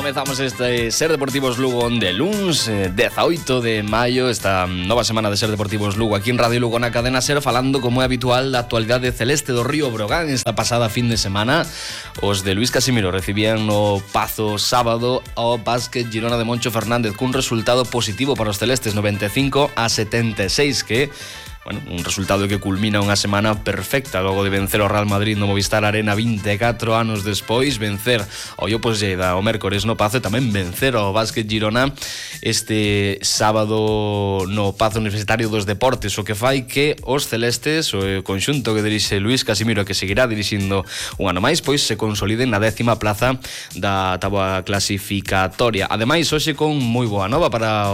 Comezamos este Ser Deportivos Lugo de luns 18 de maio. Esta nova semana de Ser Deportivos Lugo aquí en Radio Lugo na cadena Ser, falando como é habitual da actualidade celeste do Río Brogan. Esta pasada fin de semana os de Luís Casimiro recibían no Pazo sábado ao Básquet Girona de Moncho Fernández cun resultado positivo para os celestes, 95-76, que bueno, un resultado que culmina unha semana perfecta logo de vencer o Real Madrid no Movistar Arena 24 anos despois, vencer ao Opos Lleida o mércores no Pazo e tamén vencer ao Básquet Girona este sábado no Pazo Universitario dos Deportes, o que fai que os celestes, o conxunto que dirixe Luís Casimiro, que seguirá dirixindo un ano máis, pois se consoliden na 10ª plaza da táboa clasificatoria. Ademais, hoxe con moi boa nova para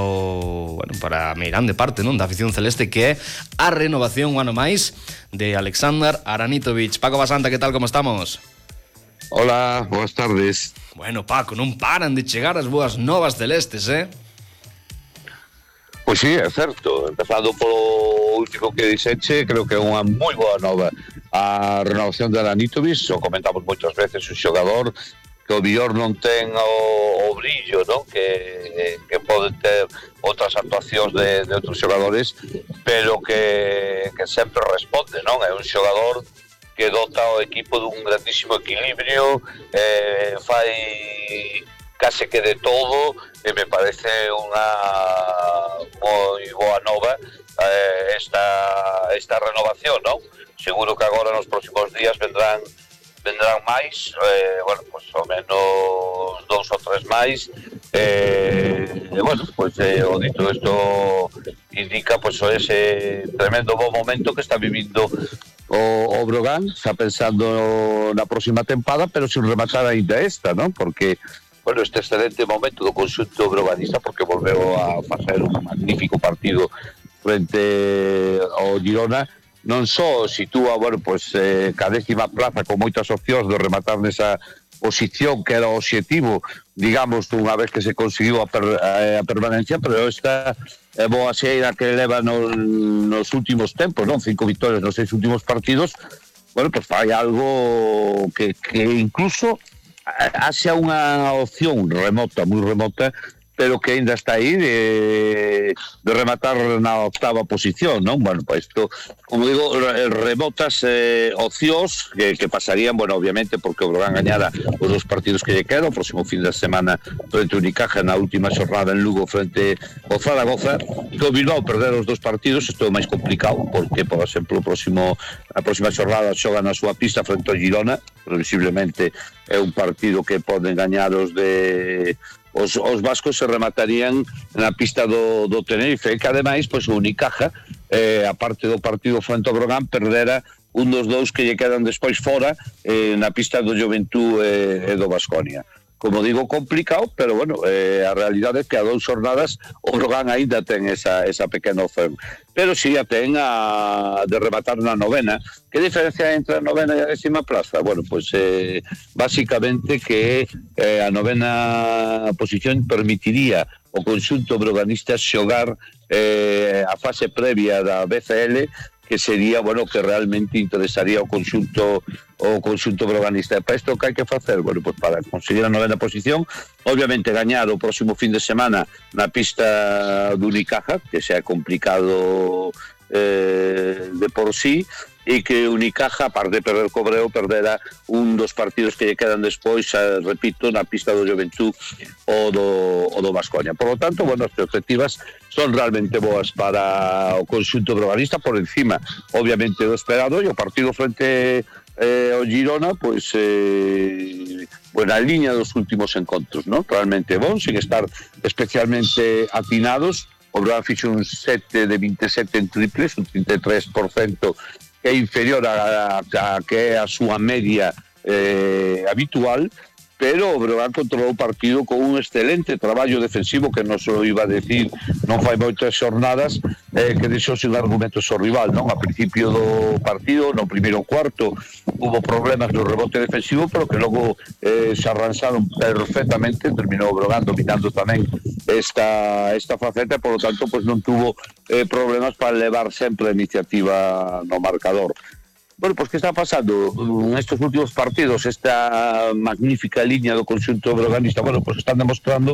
para a meirande parte, non, da afición celeste, que é a renovación un ano máis de Aleksandar Aranitovic. Paco Basanta, que tal, como estamos? Hola, boas tardes. Bueno, Paco, non paran de chegar as boas novas celestes, Pois sí, é certo. Empezando polo último que dixeche, creo que é unha moi boa nova a renovación de Aranitovic. O comentamos moitas veces, un xogador que o mellor non ten o brillo, non? Que pode ter outras actuacións de outros xogadores, pero que sempre responde, non? É un xogador que dota o equipo dun grandísimo equilibrio, fai case que de todo, e me parece unha moi boa nova esta renovación, non? Seguro que agora nos próximos días vendrán máis, bueno, pues ao menos 2 ou 3 máis, bueno, pues o dito isto indica pues ese tremendo bo momento que está vivindo o Brogan, está pensando na próxima tempada, pero sin rematar ainda esta, non? Porque bueno, este excelente momento do conxunto broganista, porque volveu a facer un magnífico partido frente ao Girona. Non só sitúa, bueno, pues, ca 10ª plaza con moitas opcións de rematar nesa posición que era o obxectivo, digamos, unha vez que se conseguiu a permanencia, pero esta boa xeira que leva nos últimos tempos, non? 5 victorias nos 6 últimos partidos, bueno, pues fai algo que incluso haxa unha opción remota, moi remota, pero que ainda está aí de rematar na 8ª posición, non? Bueno, pues isto, como digo, remotas opcións que pasarían, bueno, obviamente, porque o Brogan gañara os 2 partidos que lle quedan, o próximo fin de semana frente ao Unicaja, na última xornada en Lugo frente ao Zaragoza, que o Bilbao perder os 2 partidos, isto é máis complicado, porque, por exemplo, a próxima xornada xoga na súa pista frente ao Girona, previsiblemente é un partido que poden gañar os vascos, se rematarían na pista do Tenerife, que ademais, pois, o Unicaja, a parte do partido frente ao Brogan, perdera un dos 2 que lle quedan despois fora na pista do Juventud e do Baskonia. Como digo, complicado, pero bueno, a realidade é que a 2 xornadas o Brogan aínda ten esa pequena opción, pero si a ten de rematar na 9ª. Que diferencia entre a 9ª e a 10ª plaza? Bueno, pues básicamente que a 9ª posición permitiría o conxunto broganista xogar a fase previa da BCL, que sería, bueno, que realmente interesaría o conxunto broganista. E para isto que hai que facer? Bueno, pues para conseguir a 9ª posición, obviamente gañar o próximo fin de semana na pista do Unicaja, que xa é complicado de por sí, e que Unicaja, aparte de perder Cobreo, perdera un dos partidos que lle quedan despois, repito, na pista do Juventud o do Baskonia. Por lo tanto, bueno, as perspectivas son realmente boas para o conxunto broganista, por encima, obviamente, do esperado, e o partido frente ao Girona, pois, bueno, a liña dos últimos encontros, ¿no? Realmente bon, sin estar especialmente atinados. O Brogan fixo un 7 de 27 en triples, un 33%, que é inferior a que é a súa media habitual, pero o Brogan controlou o partido con un excelente traballo defensivo, que non só iba a decir non fai moitas xornadas, que deixou sin argumentos ao rival, non? A principio do partido, no primeiro cuarto, hubo problemas no rebote defensivo, pero que logo se arranxaron perfectamente, terminou o Brogan dominando tamén esta faceta, por lo tanto, pues non tuvo problemas para levar sempre a iniciativa no marcador. Bueno, pues que está pasando nestes últimos partidos, esta magnífica liña do conxunto breoganista, bueno, pues están demostrando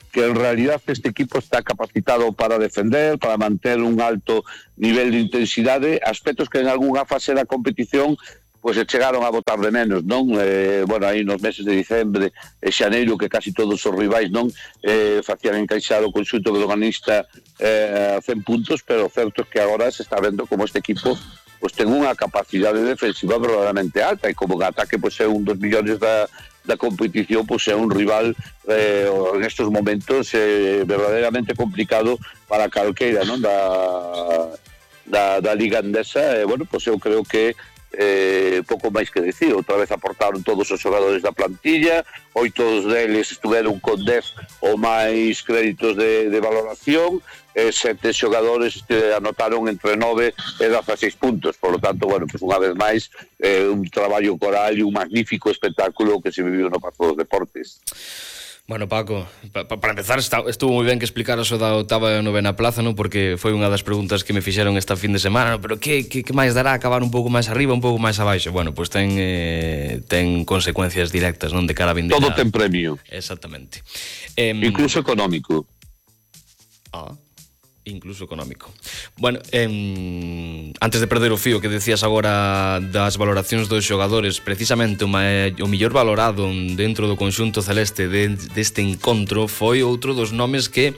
que en realidad este equipo está capacitado para defender, para manter un alto nivel de intensidade, aspectos que en algunha fase da competición pues se chegaron a botar de menos, non? Bueno, aí nos meses de diciembre e xaneiro que casi todos os rivais non facían encaixar o conxunto breoganista a 100 puntos, pero o certo é que agora se está vendo como este equipo pues ten unha capacidade defensiva verdadeiramente alta e como en ataque pues é un dos millóns da competición, pues é un rival en estos momentos verdadeiramente complicado para calqueira, non? Da Liga Endesa, bueno, pues eu creo que pouco máis que decir. Outra vez aportaron todos os xogadores da plantilla, 8 deles estuveron con 10 ou máis créditos de valoración, 7 xogadores anotaron entre 9 e 16 puntos, por lo tanto, bueno, pues unha vez máis un traballo coral e un magnífico espectáculo que se viviu no Pazo dos Deportes. Bueno, Paco, para empezar, estuvo moi ben que explicaras o da octava e novena plaza, ¿no? Porque foi unha das preguntas que me fixeron esta fin de semana, ¿no? Pero que máis dará acabar un pouco máis arriba, un pouco máis abaixo? Bueno, pues ten consecuencias directas, non? De cara a vindeira. Todo ten premio. Exactamente. Incluso económico. Incluso económico. Bueno, antes de perder o fío que decías agora das valoracións dos xogadores, precisamente o mellor valorado dentro do conxunto celeste deste encontro foi outro dos nomes que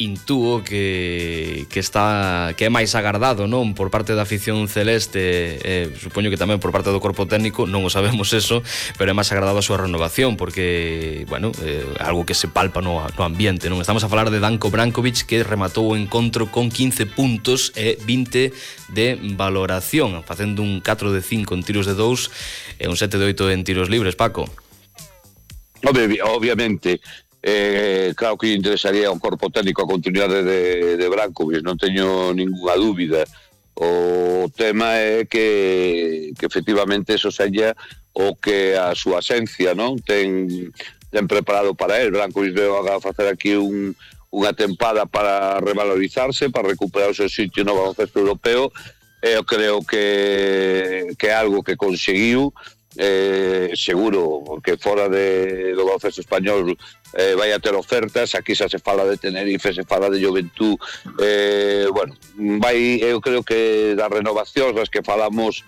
intúo que é máis agardado, non, por parte da afición celeste, supoño que tamén por parte do corpo técnico, non o sabemos eso, pero é máis agardado a súa renovación, porque, bueno, algo que se palpa no ambiente, non? Estamos a falar de Danko Brankovic, que rematou o encontro con 15 puntos e 20 de valoración, facendo un 4 de 5 en tiros de 2 e un 7 de 8 en tiros libres, Paco. Obviamente, claro que interesaría ao corpo técnico a continuidade de Brankovic, non teño ninguna dúbida. O tema é que efectivamente eso seña o que a súa esencia, non, ten preparado para él. Brankovic veo a facer aquí unha tempada para revalorizarse, para recuperar o seu sitio no baloncesto europeo. Eu creo que é algo que conseguiu, seguro, porque fora do baloncesto español vai a ter ofertas. Aquí xa se fala de Tenerife, se fala de Juventud, bueno, eu creo que das renovacións das que falamos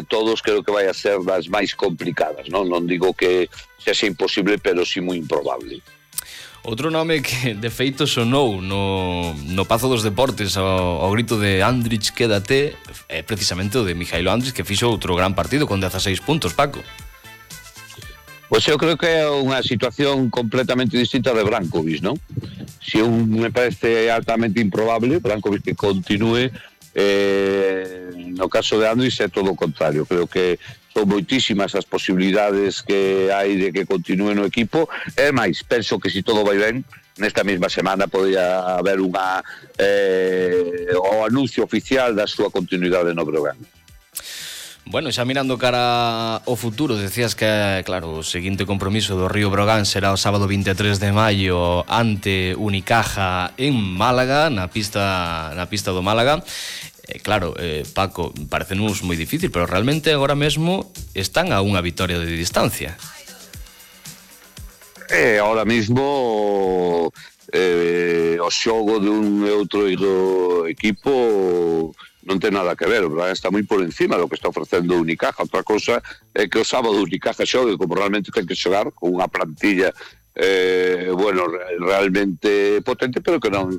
todos, creo que vai a ser das máis complicadas, non digo que sexa imposible, pero sí moi improbable. Outro nome que de feito sonou no Pazo dos Deportes ao grito de Andrić, quédate, é precisamente o de Mijailo Andrić, que fixo outro gran partido con 16 puntos, Paco. Pois eu creo que é unha situación completamente distinta de Brankovic, non? Si me parece altamente improbable Brankovic que continúe, no caso de Andrić é todo o contrario. Creo que son moitísimas as posibilidades que hai de que continúe no equipo. É máis, penso que se todo vai ben, nesta mesma semana podría haber o anuncio oficial da súa continuidade no Breogán. Bueno, xa mirando cara ao futuro, decías que, claro, o seguinte compromiso do Río Breogán será o sábado 23 de maio ante Unicaja en Málaga, na pista do Málaga. Claro, Paco, parecenos moi difícil, pero realmente agora mesmo están a unha vitoria de distancia. Ahora mesmo o xogo dun e outro equipo non ten nada que ver, ¿verdad? Está moi por encima do que está ofrecendo Unicaja. Outra cosa é que o sábado Unicaja xogue como realmente ten que xogar, con unha plantilla bueno, realmente potente, pero que non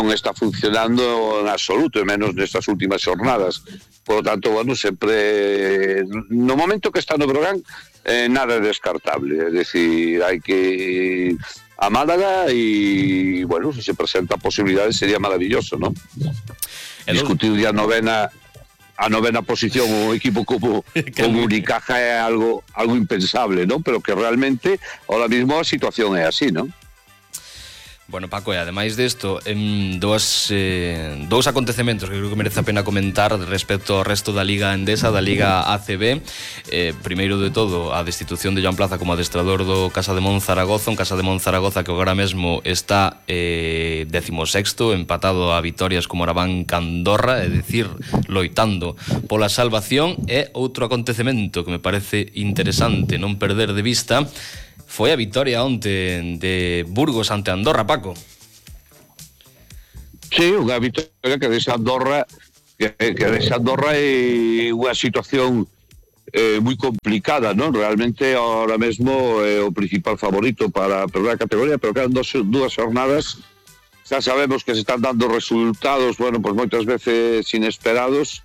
está funcionando en absoluto, e menos nestas últimas xornadas. Por lo tanto, bueno, sempre no momento que está no Breogán nada é descartable, é dicir, hai que ir a Málaga e, bueno, se presenta posibilidades sería maravilloso, ¿no? Discutir ya a novena posición o equipo como Unicaja é algo impensable, ¿no? Pero que realmente ahora mismo a situación é así, ¿no? Bueno, Paco, e ademais desto, dous acontecementos que creo que merece a pena comentar respecto ao resto da Liga Endesa, da Liga ACB. Primeiro de todo, a destitución de Joan Plaza como adestrador do Casa de Monzaragoza, un Casa de Monzaragoza que agora mesmo está 16º, empatado a vitorias como Arabán Candorra, é dicir, loitando pola salvación. E outro acontecemento que me parece interesante non perder de vista foi a vitoria onte de Burgos ante Andorra, Paco. Sí, unha vitoria que deixa Andorra é unha situación moi complicada, non? Realmente ahora mesmo é o principal favorito para perder a categoría, pero quedan dúas jornadas. Xa sabemos que se están dando resultados, bueno, pues moitas veces inesperados,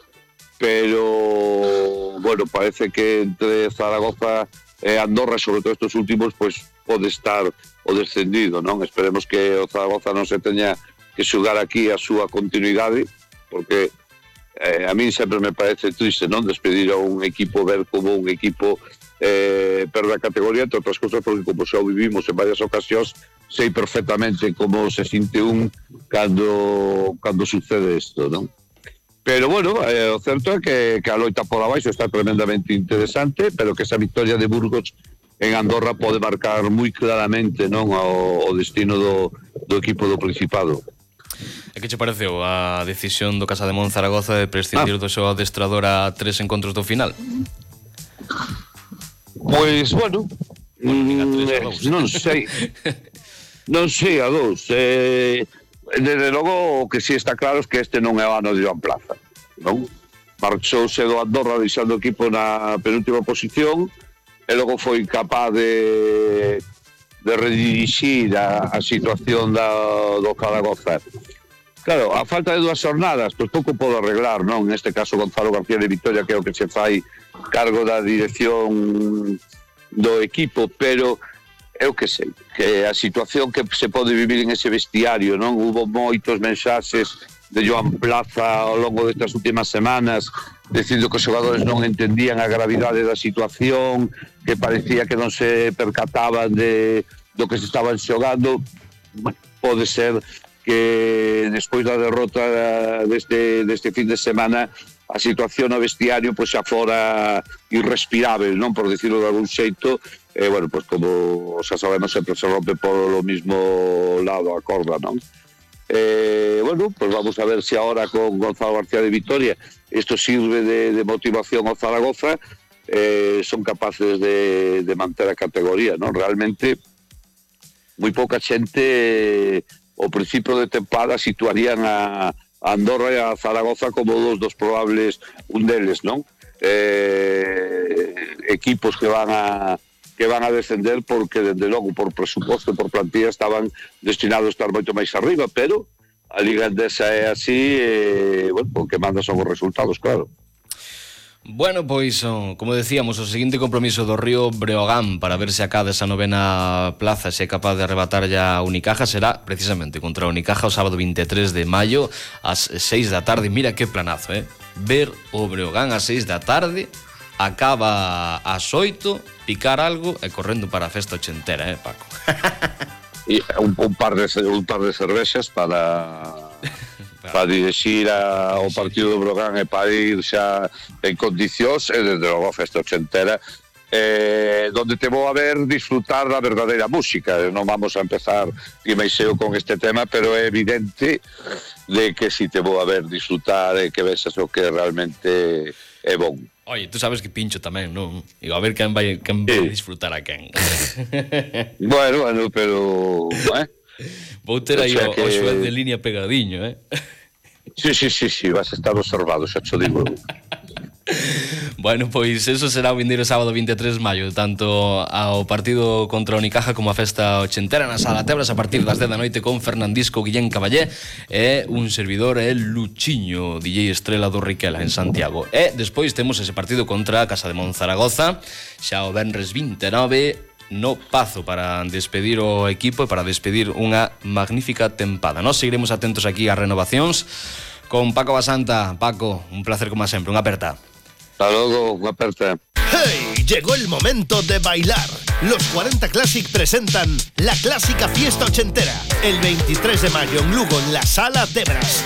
pero bueno, parece que entre Zaragoza Andorra, sobre todo estos últimos, pues pode estar o descendido, non? Esperemos que o Zaragoza non se teña que xogar aquí a súa continuidade, porque a mí sempre me parece triste, non? Despedir a un equipo, ver como un equipo perde a categoría, entre outras cosas porque como xa o vivimos en varias ocasións, sei perfectamente como se sinte un cando sucede isto, non? Pero bueno, o certo é que a loita por abaixo está tremendamente interesante, pero que esa victoria de Burgos en Andorra pode marcar moi claramente, non, o destino do equipo do Principado. E que che pareceu a decisión do Casa de Monzaragoza de prescindir do seu adestrador a 3 encontros do final? Pois, bueno, non sei. Non sei a 2. Desde logo o que si está claro é que este non é o ano de Joan Plaza, non? Marchouse do Andorra deixando o equipo na penúltima posición e logo foi capaz de redirixir a situación do Zaragoza. Claro, a falta de 2 jornadas, pois pouco podo arreglar, non? Neste caso Gonzalo García de Vitoria, que é o que se fai cargo da dirección do equipo, pero eu que sei, que a situación que se pode vivir en ese vestiario, non? Hubo moitos mensaxes de Joan Plaza ao longo destas últimas semanas dicindo que os xogadores non entendían a gravidade da situación, que parecía que non se percataban do que se estaban xogando. Bueno, pode ser que despois da derrota deste fin de semana a situación no vestiario pois xa fora irrespirável, non, por dicirlo de algún xeito. Bueno, pues como xa sabemos sempre se rompe polo mismo lado a corda, non? Bueno, pues vamos a ver se ahora con Gonzalo García de Vitoria isto sirve de motivación ao Zaragoza, son capaces de manter a categoría, non? Realmente moi pouca xente ao principio de tempada situarían a Andorra e a Zaragoza como dos probables, un deles, non? Equipos que van a descender porque, desde logo, por presuposto e por plantilla estaban destinados a estar moito máis arriba, pero a Liga Endesa é así, bueno, o que manda son os resultados, claro. Bueno, pois, como decíamos, o seguinte compromiso do Río Breogán para ver se acada esa 9ª plaza, se é capaz de arrebatar ya a Unicaja, será precisamente contra a Unicaja o sábado 23 de maio ás 6 da tarde. Mira que planazo, ver o Breogán ás 6 da tarde, acaba ás 8, picar algo e correndo para a festa ochentera, Paco? E un par de cervexas para dirixir ao partido do Breogán e para ir xa en condicións e desde logo a festa ochentera, donde te vou a ver disfrutar da verdadeira música. Non vamos a empezar guimaixeo con este tema, pero é evidente de que si te vou a ver disfrutar e que vexas o que realmente é bon. Oye, tú sabes que pincho tamén, non? Digo, a ver quen vai disfrutar a quen. Bueno, pero... Vou ter aí o xuez de línea pegadiño, Sí, vas a estar observado, xa te digo. Bueno, pois eso será o vindeiro sábado 23 de maio, tanto ao partido contra o Unicaja como a festa ochentera na Sala Tebras a partir das 10 da noite con Fernandisco, Guillén Caballé e un servidor, Luchiño, DJ estrela do Riquela en Santiago. E despois temos ese partido contra a Casa de Monzaragoza xa o venres 29 no Pazo para despedir o equipo e para despedir unha magnífica tempada. Nos seguiremos atentos aquí ás renovacións con Paco Basanta. Paco, un placer como sempre, unha aperta. Hasta luego, unha aperta. ¡Hey! Llegó el momento de bailar. Los 40 Classic presentan la clásica fiesta ochentera el 23 de mayo en Lugo, en la Sala Debras.